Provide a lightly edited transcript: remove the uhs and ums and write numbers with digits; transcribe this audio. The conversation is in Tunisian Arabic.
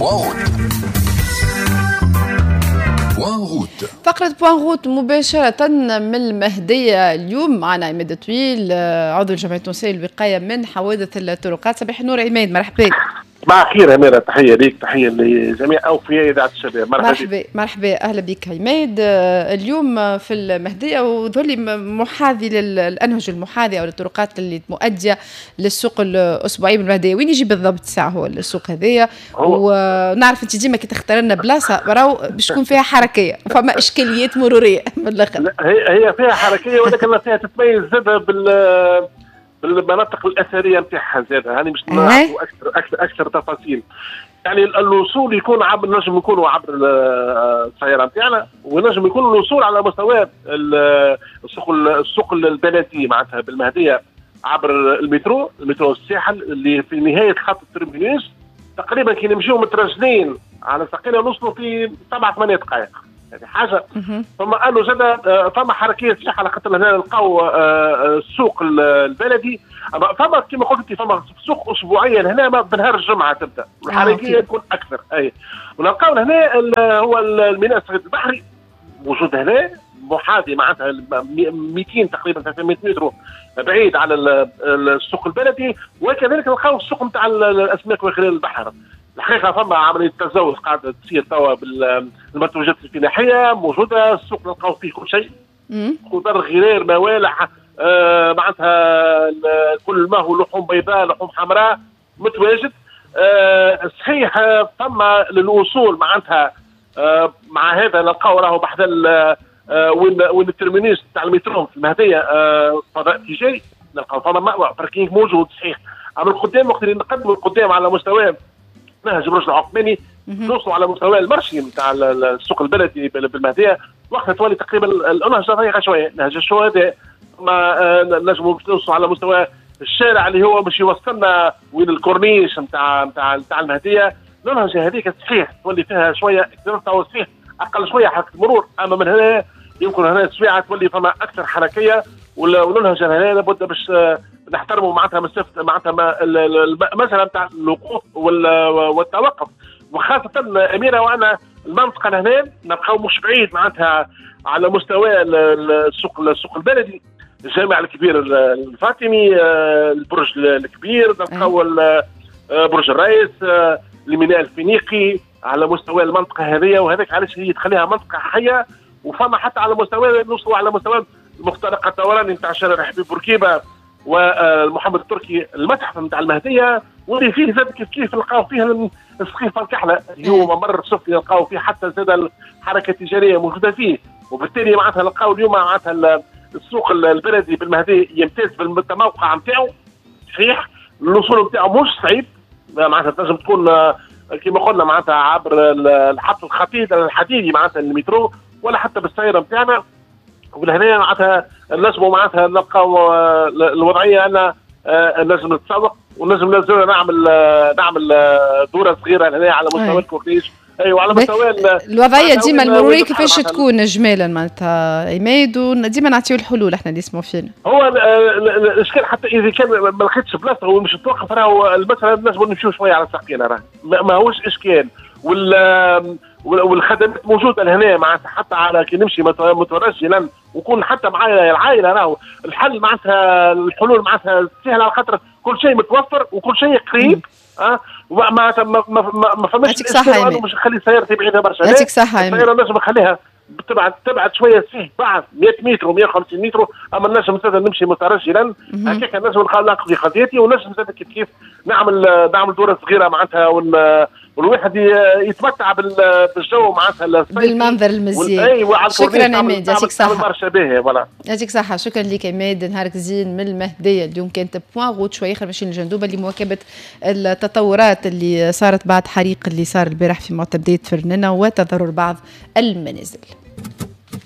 Point route. Point route. فقرة point route مباشرة من المهدية. اليوم معنا عماد طويل، عضو الجمعية التونسية للوقاية من حوادث الطرقات. صباح النور عماد، مرحبا. صباح الخير أميرة، تحية ليك، تحية لجميع أوفياء إذاعة الشباب. مرحبا مرحبا مرحبا، أهلا بك عماد. اليوم في المهدية وظل محاذي للأنهج المحاذية أو الطرقات اللي مؤدية للسوق الأسبوعي بالمهدية، وين يجي بالضبط الساعة هو السوق هذايا؟ ونعرف أنت ديما كي تختار لنا بلاصة راهو باش تكون فيها حركية، فما إشكاليات مرورية من الآخر. هي فيها حركية ولكن فيها تتميز زادة بالمناطق الاثرية نتاعها زاده، هاني باش نعرفوا اكثر اكثر اكثر تفاصيل. يعني الوصول يكون عبر، نجم يكونوا عبر السيارة نتاعنا، ونجم يكون الوصول على مستوى السوق البلدي معناتها بالمهديه عبر المترو، المترو الساحل اللي في نهاية خط ال terminus تقريبا. كي نمشيو مترجلين على ساقينا نوصلوا في 7 8 دقائق، هذه حاجة. ثم انه زاد فما حركية صحيحه على خاطر هنا نلقاو السوق البلدي، فما كما قلت انت فما سوق اسبوعيا هنا بنهار الجمعة تبدا والحركيه تكون اكثر. اي ونلقاو هنا هو الميناء الصغير البحري موجود هنا محاذي معناتها 200 تقريبا 300 متر بعيد على السوق البلدي، وكذلك نلقاو السوق نتاع الاسماك وخلال البحر. الحقيقة فما عملية تزود قاعدة تصير توا بالمنتوجات الفلاحية موجودة، السوق نلقاو فيه كل شيء، خضر، غرير، موالح، معناتها كل ما هو لحوم بيضاء، لحوم حمراء متواجد. صحيح فما للوصول معناتها مع هذا نلقاو راهو بحذا وين ال terminus تاع المترو في المهدية فضاء تجاري، نلقاو فما مأوى parking موجود صحيح. اما القدام وقت اللي نقدموا القدام على مستوى نهج برج العثماني نوصلوا على مستوى ال marché نتاع السوق البلدي بالمهديه، وقتها تولي تقريبا النهج ضيقه شوية، نهج الشهداء، ما نجموا نوصلوا على مستوى الشارع اللي هو باش يوصلنا وين الكورنيش نتاع نتاع نتاع المهدية. النهج هذيك صحيح تولي فيها شوية صحيح اقل شوية حركة المرور، اما من هنا يمكن هنا السويعه تولي فما اكثر حركية، والنهج هنا لابد باش نحترموا معناتها مسافة معناتها المسالة نتاع الوقوف والتوقف، وخاصة اميره وانا المنطقة لهنا نبقاو مش بعيد معناتها على مستوى السوق البلدي، الجامع الكبير الفاطمي، البرج الكبير، نلقاو برج الرئيس، الميناء الفينيقي على مستوى المنطقة هذه، وهذاك علاش هي تخليها منطقة حيه. وفما حتى على مستوى نوصلوا على مستوى المخترق الدوراني نتاع شارع حبيب بورقيبة ومحمد التركي، المتحف نتاع المهدية واللي فيه زاد كيف كيف نلقاو فيه السقيفه الكحله اللي هو ممر سفلي نلقاو فيه حتى زاد الحركة التجارية موجودة فيه. وبالتالي معناتها نلقاو اليوم معناتها السوق البلدي بالمهديه يمتاز بالتموقع نتاعو صحيح، الوصول نتاعو مش صعيب معناتها تنجم تكون كما قلنا معناتها عبر الحط الخطيط الحديدي معناتها المترو ولا حتى بالسيارة نتاعنا. ولهنا معناتها نجموا معناتها نلقاو الوضعية ان نجم نتسوق ونجم نعمل دوره صغيرة لهنا على مستوى الكورنيش. ايوه على مستوى الوضعية ديما المرورية كيفاش تكون اجمالا معناتها عماد، وديما نعطيو الحلول احنا اللي يسمعوا فينا. هو الاشكال حتى اذا كان ما لقيتش بلاصة ومش توقف راهو المسالة نجموا نمشيو شوية على ساقينا، راه ماهوش اشكال، والخدمات موجودة لهنا معناتها حتى على كي نمشي مترجلا وكون حتى معايا العائلة راهو الحل معناتها الحلول معناتها سهلة على خاطر كل شيء متوفر وكل شيء قريب. معناتها ما فماش اشكال مش نخلي سيارتي بعيدة برشا، يعطيك صحة. السيارة نجم نخليها تبعد شوية فيه بعد 100 متر و150 متر، اما نجم زاد نمشي مترجلا هكاك نجم نقضي قضيتي، ونجم زاد كيف كيف نعمل دوره صغيرة معناتها، والواحد يتمتع بالجو معناتها بالمنظر المزيان. ايوه شكرا عماد، يعطيك صحة برشا باهي voilà، يعطيك صحة. شكرا لك عماد، نهارك زين من المهدية. اليوم كانت point route شوية اخر ماشيين لجندوبه لمواكبه التطورات اللي صارت بعد حريق اللي صار البارح في معتمديه فرننا وتضرر بعض المنازل.